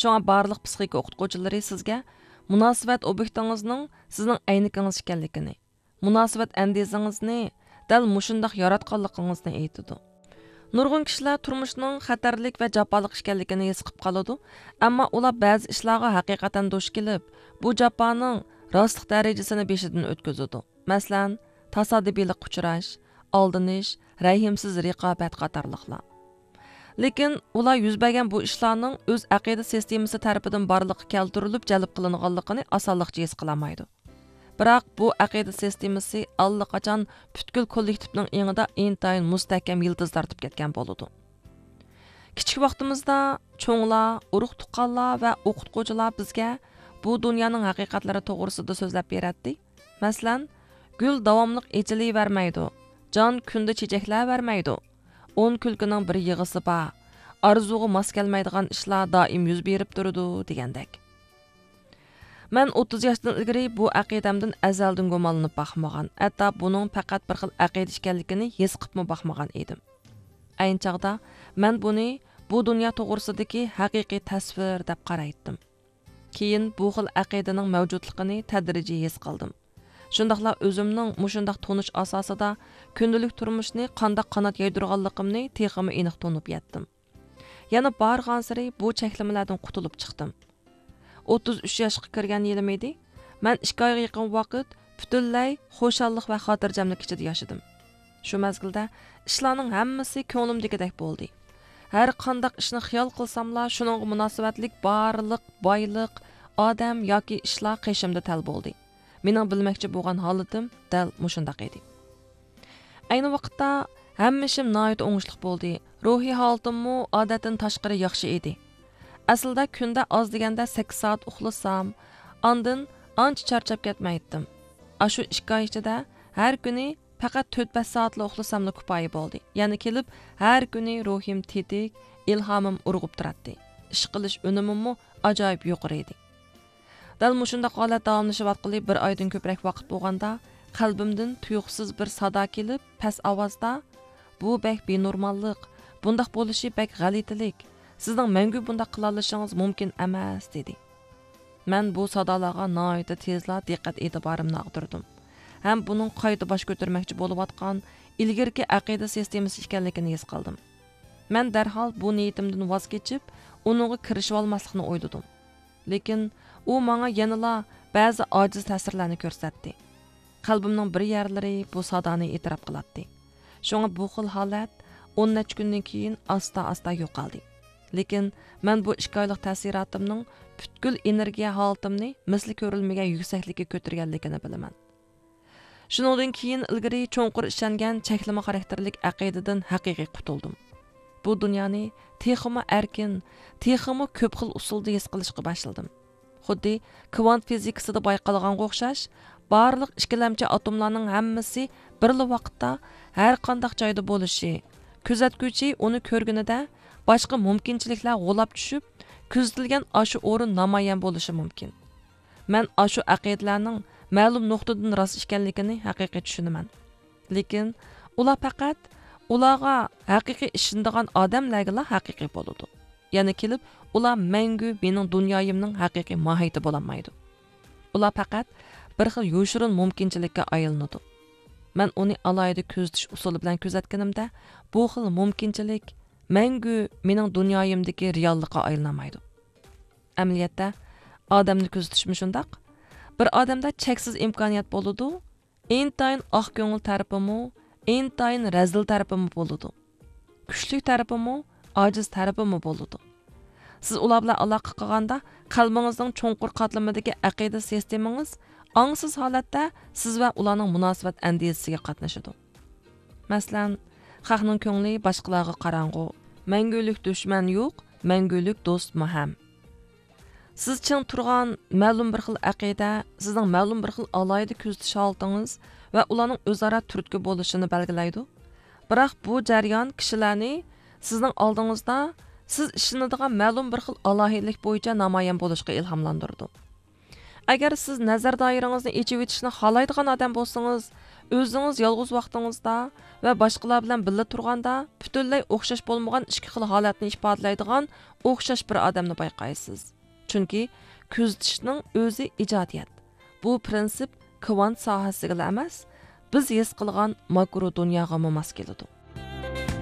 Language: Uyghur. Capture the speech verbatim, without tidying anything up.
شۇڭا بارلىق پسىخىكا ئوقۇتقۇچىلىرى سىزگە مۇناسىۋەت ئوبيېكتىڭىزنىڭ سىزنىڭ ئەينىكىڭىز ئىكەنلىكىنى، مۇناسىۋەت ئەندىزىڭىزنى دەل مۇشۇنداق ياراتقانلىقىڭىزنى ئېيتىدۇ. نۇرغۇن كىشىلەر تۇرمۇشنىڭ خەتەرلىك ۋە جاپالىق ئىكەنلىكىنى ھېس قىلىپ قالىدۇ، ئەمما ئۇلار بەزى ئىشلارغا ھەقىقەتەن دۇچ كېلىپ، بۇ جاپانىڭ راستلىق دەرىجىسىنى بېشىدىن ئۆتكۈزىدۇ. مەسىلەن، تاسادىپىيلىققا ئۇچراش، ئالدىنىش، رەھىمسىز رىقابەت قاتارلىقلار. لېكىن ئۇلار يۈز بەرگەن بۇ ئىشلارنىڭ ئۆز ئەقىدە سىستېمىسى تەرىپىدىن بارلىققا كەلتۈرۈلۈپ جەلپ قىلىنغانلىقىنى ئاسانلىقچە ھېس قىلالمايدۇ. بىراق بۇ ئەقىدە سىستېمىسى ئاللىقاچان پۈتكۈل كوللېكتىپنىڭ ئېڭىدا ئىنتايىن مۇستەھكەم يىلتىز تارتىپ كەتكەن بولىدۇ. كىچىك ۋاقتىمىزدا چوڭلار، ئۇرۇق-تۇغقانلار ۋە ئوقۇتقۇچىلار بىزگە بۇ دۇنيانىڭ ھەقىقەتلىرى توغرىسىدا سۆزلەپ بېرەتتى. مەسىلەن، گۈل داۋاملىق ئېچىلىۋەرمەيدۇ، جان كۈندە چېچەكلەۋەرمەيدۇ، ئون كۈلكىنىڭ بىر يىغىسى بار، ئارزۇغا ماس كەلمەيدىغان ئىشلار دائىم يۈز بېرىپ تۇرىدۇ دېگەندەك. مەن ئوتتۇز ياشتىن ئىلگىرى بۇ ئەقىدەمدىن ئەزەلدىن گۇمانلىنىپ باقمىغان، ھەتتا بۇنىڭ پەقەت بىر خىل ئەقىدە ئىكەنلىكىنى ھېس قىپمۇ باقمىغان ئىدىم. ئەينى چاغدا مەن بۇنى بۇ دۇنيا توغرىسىدىكى ھەقىقىي تەسۋىر دەپ قارايتتىم. كېيىن بۇ خىل ئەقىدىنىڭ مەۋجۇتلۇقىنى تەدرىجىي ھېس قىلدىم. شۇنداقلا ئۆزۈمنىڭ مۇشۇنداق تونۇش ئاساسىدا كۈندىلىك تۇرمۇشنى قانداق قانات يايدۇرغانلىقىمنى تېخىمۇ ئېنىق تونۇپ يەتتىم. يەنە بارغانسېرى بۇ چەكلىمىلەردىن قۇتۇلۇپ چىقتىم. ئوتتۇز ئۈچ ياشقا كىرگەن يىلىم ئىدى. مەن ئىككى ئايغا يېقىن ۋاقىت پۈتۈنلەي خۇشاللىق ۋە خاتىرجەملىك ئىچىدە ياشىدىم. شۇ مەزگىلدە ئىشلارنىڭ ھەممىسى كۆڭلۈمدىكىدەك بولدى. ھەر قانداق ئىشنى خىيال قىلساملا، شۇنىڭغا مۇناسىۋەتلىك بارلىق بايلىق، ئادەم ياكى ئىشلار قېشىمدا تەل بولدى. مېنىڭ بىلمەكچى بولغان ھالىتىم دەل مۇشۇنداق ئىدى. ئەينى ۋاقىتتا ھەممە ئىشىم ناھايىتى ئوڭۇشلۇق بولدى. روھىي ھالىتىممۇ ئادەتتىن تاشقىرى ياخشى ئىدى. ئەسلىدە كۈندە ئاز دېگەندە سەككىز سائەت ئۇخلىسام، ئاندىن ئانچە چارچاپ كەتمەيتتىم. ئاشۇ ئىككى ئاي ئىچىدە ھەر كۈنى پەقەت تۆت-بەش سائەتلا ئۇخلىساملا كۇپايە بولدى. يەنە كېلىپ ھەر كۈنى روھىم تېتىك، ئىلھامىم ئۇرغۇپ تۇراتتى. ئىش قىلىش ئۈنۈمىممۇ ئاجايىپ يۇقىرى ئىدى. دەل مۇشۇنداق ھالەت داۋاملىشىۋاتقىلى بىر ئايدىن كۆپرەك ۋاقىت بولغاندا، قەلبىمدىن تۇيۇقسىز بىر سادا كېلىپ، پەس ئاۋازدا، «بۇ بەك بىنورماللىق، بۇنداق بولۇشى بەك غەلىتىلىك، سىزنىڭ مەڭگۈ بۇنداق قىلالىشىڭىز مۇمكىن ئەمەس» دېدى. مەن بۇ سادالارغا ناھايىتى تېزلا دىققەت ئېتىبارىمنى ئاغدۇردۇم ھەم بۇنىڭ قايتا باش كۆتۈرمەكچى بولۇۋاتقان ئىلگىرىكى ئەقىدە سىستېمىسى ئىكەنلىكىنى ھېس قىلدىم. مەن دەرھال بۇ نىيىتىمدىن ۋاز كېچىپ، ئۇنىڭغا كىرىشىۋالماسلىقنى ئويلىدىم. لېكىن ئۇ ماڭا يەنىلا بەزى ئاجىز تەسىرلەرنى كۆرسەتتى. قەلبىمنىڭ بىر يەرلىرى بۇ سادانى ئېتىراپ قىلاتتى. شۇڭا بۇ خىل ھالەت ئون نەچچە كۈندىن كېيىن ئاستا-ئاستا يوقالدى. لېكىن مەن بۇ ئىككى ئايلىق تەسىراتىمنىڭ پۈتكۈل ئېنېرگىيە ھالىتىمنى مىسلى كۆرۈلمىگەن يۈكسەكلىككە كۆتۈرگەنلىكىنى بىلىمەن. شۇنىڭدىن كېيىن ئىلگىرى چوڭقۇر ئىشەنگەن چەكلىمە خاراكتېرلىك ئەقىدىدىن ھەقىقىي قۇتۇلدۇم. بۇ دۇنيانى تېخىمۇ ئەركىن، تېخىمۇ كۆپ خىل ئۇسۇلدا ھېس قىلىشقا باشلىدىم. خۇددى كۋانت فىزىكىسىدا بايقالغانغا ئوخشاش، بارلىق ئىككىلەمچى ئاتوملارنىڭ ھەممىسى بىرلا ۋاقىتتا ھەر قانداق جايدا بولۇشى، كۆزەتكۈچى ئۇنى كۆرگىنىدە باشقا مۇمكىنچىلىكلەر غۇلاپ چۈشۈپ، كۆزىتىلگەن ئاشۇ ئورۇن نامايان بولۇشى مۇمكىن. مەن ئاشۇ ئەقىدىلەرنىڭ مەلۇم نۇقتىدىن راست ئىكەنلىكىنى ھەقىقىي چۈشىنىمەن. لېكىن ئۇلار پەقەت ئۇلارغا ھەقىقىي ئىشىنىدىغان ئادەملەرگىلا ھەقىقىي بولىدۇ. يەنە كېلىپ، ئۇلار مەڭگۈ مېنىڭ دۇنيايىمنىڭ ھەقىقىي ماھىيىتى بولالمايدۇ. ئۇلار پەقەت بىر خىل يوشۇرۇن مۇمكىنچىلىككە ئايلىنىدۇ. مەن ئۇنى ئالاھىدە كۆزىتىش ئۇسۇلى بىلەن كۆزەتكىنىمدە، بۇ خىل مۇمكىنچىلىك مەڭگۈ مېنىڭ دۇنيايىمدىكى رېئاللىققا ئايلىنالمايدۇ. ئەمەلىيەتتە، ئادەمنى كۆزىتىشمۇ شۇنداق. بىر ئادەمدە چەكسىز ئىمكانىيەت بولىدۇ، ئىنتايىن ئاق كۆڭۈل تەرىپىمۇ، ئىنتايىن رەزىل تەرىپىمۇ بولىدۇ. كۈچلۈك تەرىپىمۇ، ئاجىز تەرىپىمۇ بولىدۇ. سىز ئۇلار بىلەن ئالاقە قىلغاندا، قەلبىڭىزنىڭ چوڭقۇر قاتلىمىدىكى ئەقىدە سىستېمىڭىز ئاڭسىز ھالەتتە سىز ۋە ئۇلارنىڭ مۇناسىۋەت ئەندىزىسىگە قاتنىشىدۇ. مەسىلەن، خەقنىڭ كۆڭلى باشقىلارغا قاراڭغۇ، مەڭگۈلۈك دۈشمەن يوق، مەڭگۈلۈك دوستمۇ ھەم. سىز چىڭ تۇرغان مەلۇم بىر خىل ئەقىدە سىزنىڭ مەلۇم بىر خىل ئالاھىدە كۆزىتىش ھالىتىڭىز ۋە ئۇلارنىڭ ئۆزئارا تۈرتكە بولۇشىنى بەلگىلەيدۇ. بىراق بۇ جەريان كىشىلەرنى سىزنىڭ ئالدىڭىزدا سىز ئىشىنىدىغان مەلۇم بىر خىل ئالاھىدىلىك بويىچە نامايان بولۇشقا ئىلھاملاندۇرىدۇ. ئەگەر سىز نەزەر دائىرىڭىزنى ئېچىۋېتىشنى خالايدىغان ئادەم بولسىڭىز، ئۆزىڭىز يالغۇز ۋاقتىڭىزدا ۋە باشقىلار بىلەن بىللە تۇرغاندا پۈتۈنلەي ئوخشاش بولمىغان ئىككى خىل ھالەتنى ئىپادىلەيدىغان ئوخشاش بىر ئادەمنى بايقايسىز. چۈنكى كۆزىتىشنىڭ ئۆزى ئىجادىيەت. بۇ پىرىنسىپ كۋانت ساھەسىگىلا ئەمەس، بىز ھېس قىلغان ماكرو دۇنياغىمۇ ماس كېلىدۇ.